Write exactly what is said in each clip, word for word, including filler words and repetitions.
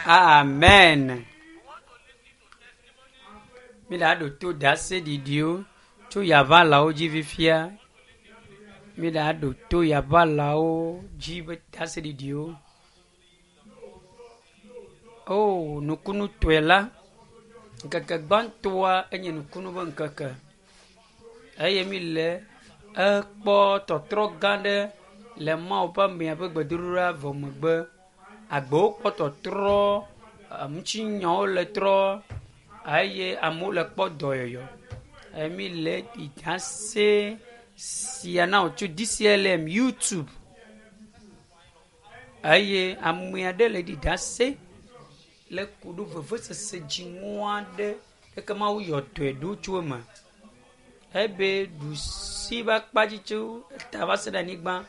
Amen. Mi la ɖo to ɖaseɖiɖiwo tso yaʋalawo dzi fifia. Mi la ɖo to yaʋalawo dzi be ɖaseɖiɖiwo. O nukunutɔe la, ŋkeke gbãtɔa enye nukunu be ŋkeke eye mi le ekpɔ tɔtrɔ gã ɖe le Mawu ƒe amea ƒe gbedodoɖa vɔ megbe. Agbewo kpɔ tɔtrɔ, ŋutinyawo le trɔ eye amewo le kpɔ dɔyɔyɔ. Eye mi le ɖase sia na wò tso DCLM YouTube eye ame aɖe le ɖi ɖase le ku ɖo vevesese dziŋɔ aɖe eke Mawu yɔ dɔe ɖo tso eme. Ebe ɖusi ƒe akpa dzi tso eta va se ɖe anyigba.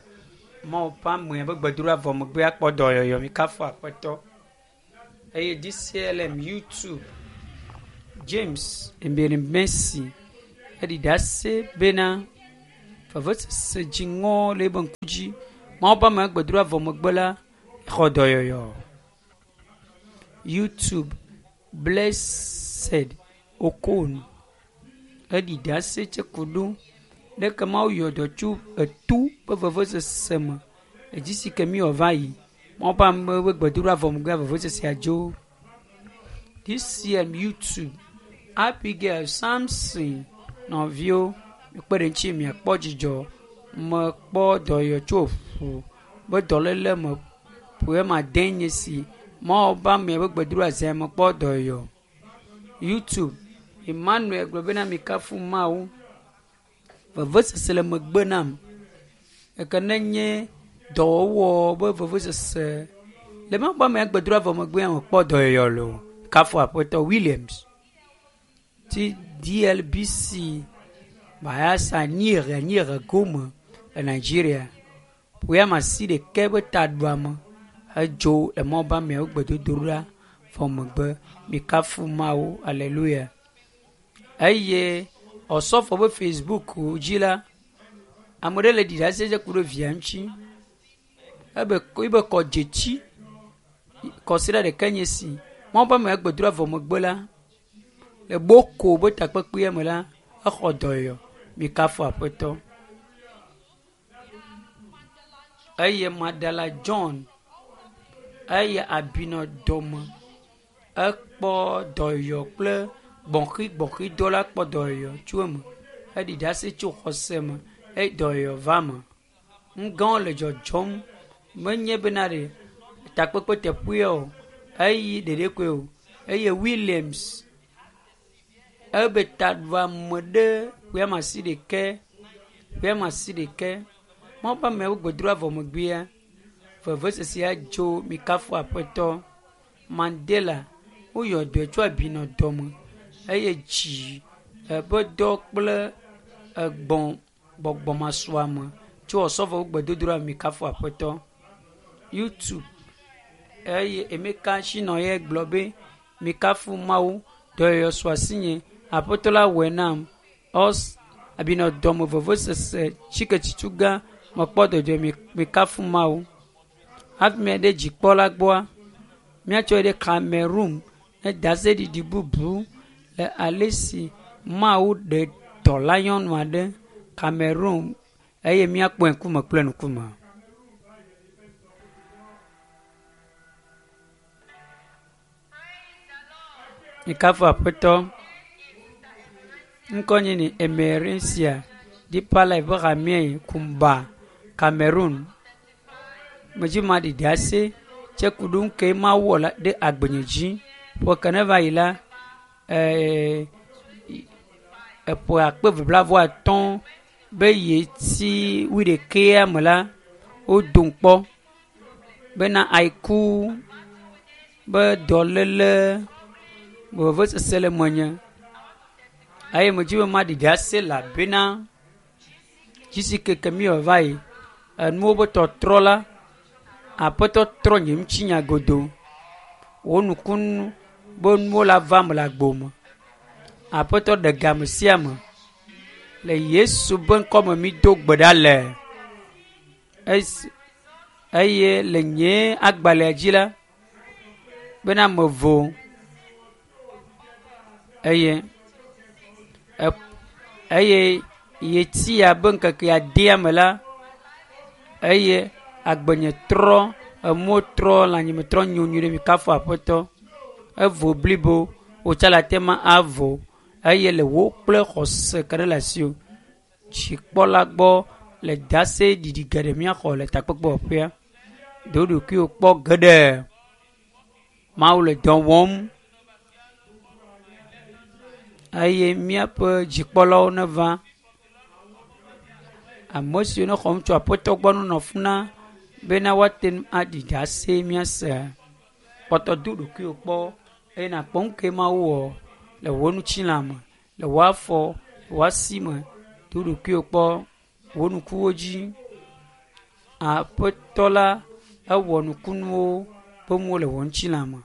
Mawu ƒe amea ƒe gbedodoɖa vɔ megbe akpɔ dɔyɔyɔ mi kafu aƒetɔ. Eye DCLM YouTube James Emerimesi eɖi ɖase bena vevesese dziŋɔ le eƒe ŋku dzi. Mawu ƒe amea gbedodoɖa vɔ megbe la xɔ dɔyɔyɔ. YouTube Blessed Okon eɖi ɖase tse ku ɖo leke Mawu yɔ dɔ tso etu ƒe vevesese me. Edzi si ke mi wɔ va yi. Mawu ƒe ame ƒe gbedodoɖa vɔ megbea vevesesea dzo. DCM YouTube Abigail Samson nɔviwo kpe ɖe ŋuti miakpɔ dzidzɔ. Mekpɔ dɔyɔyɔ tso ʋu be dɔléle me ƒe ma de nye si. Mawu ƒe amea ƒe gbedodoɖa zia mekpɔ dɔyɔyɔ. YouTube Emmanuel gblɔ bena mikafu Mawu. Vevesese le megbe nam. Eke ne nye dɔwɔwɔ be vevesese le Mawu ƒe amea gbedodoɖa vɔ megbea mekpɔ dɔyɔyɔ loo. Kafu aƒetɔ Williams. Ti DLBC Bayelsa Nyire Nyire gome le Nigeria. Ƒe asi ɖeke ƒe taɖuame hedzo le Mawu ƒe ameawo gbedodoɖa vɔ megbe. Mikafu Mawu. Hallelujah. Eye Osɔfo ƒe Facebook dzi la, ame ɖe le ɖi ɖase dze ku ɖe via ŋuti. Ebe ebe kɔ dzetsi kɔsiɖa ɖeka nye si. Mawu ƒe amea gbedodoɖa vɔ megbe la, le Boko be takpekpea me la, exɔ dɔyɔyɔ. Mikafu aƒetɔ. Eye Madala John eye abi nɔ dɔme ekpɔ dɔyɔyɔ kple gbɔxigbɔxidɔ la kpɔ dɔyɔyɔ tso eme. Eɖi ɖase tso xɔse me eye dɔyɔyɔ va me. Ŋgãwo le dzɔdzɔm menye bena ɖe takpekpe teƒea o eyi ɖeɖe koe o eye Williams ebe taɖuame ɖe ƒe asi ɖeke ƒe asi ɖeke. Mawu ƒe ameawo gbedodoɖa vɔ megbea vevesesea dzo mikafu aƒetɔ. Mandela woyɔ dɔe tso abi nɔ dɔme eye dzi eƒe dɔ kple egbɔ̃ gbɔgbɔmasuame tso Osɔfowo gbedodoɖa mikafu aƒetɔ. YouTube eye Emeka Shinɔye gblɔ be mikafu Mawu dɔyɔyɔ su asinye aƒetɔ la wɔe nam. Ɔs abi nɔ dɔme vevesese tsiketsitsu gã mekpɔ dɔdzɔ mikafu Mawu. Hafi mia ɖe dzikpɔla gbɔa míatsɔe ɖe Cameroon ne ɖaseɖiɖi bubu le ale si Mawu ɖe dɔla nyɔnu aɖe Cameroon eye míakpɔe ŋkume kple ŋkume. Mikafu aƒetɔ. Ŋkɔnye ni Emerencia Deeper Life ƒe hamea Kumba, Cameroon. Medzi ma ɖi ɖase tse ku ɖo ŋke Mawu wɔ la ɖe agbenye dzi. Ƒe ke ne va yi la, ee, eƒe akpe eve blaeve atɔ̃ be yeti wuiɖekea me la, wodom kpɔ bena ayiku be dɔléle vevesese le menye eye medzi be maɖi ɖase elabena dzi si keke mi wɔ va yi enuwo be tɔtrɔ la aƒetɔ trɔ nye ŋutinya godo. Wo nukunu be nuwo la va me le agbo me. Aƒetɔ ɖe game sia me. Le Yesu be ŋkɔme mi do gbe ɖa le. Esi eye le nye agbalẽa dzi la, bena mevo eye eye yeti abe ŋkeke adea me la eye agbenye trɔ emɔ trɔ lãnyime trɔ nyo nyuie ɖe mi kafu aƒetɔ evo blibo wotsa le ate ma avo eye le wo kple xɔse ke ɖe le asi o dzikpɔla gbɔ le dase ɖiɖi geɖe míaxɔ le takpekpewɔƒea do ɖokuiwò kpɔ geɖe mawu le dɔ wɔm eye míaƒe dzikpɔlawo neva ame siwo ne xɔm tso aƒetɔ gbɔ nonɔ funa bena woate ŋu aɖi ɖase míase kpɔtɔ do ɖokuiwò kpɔ eye nakpɔ nu ke mawu wɔ le wò ŋutilã me le wò afɔ wò asi me do ɖokuiwò kpɔ wò ŋkuwo dzi aƒetɔ la ewɔ nukunuwo ƒe nuwo le wò ŋutilã me.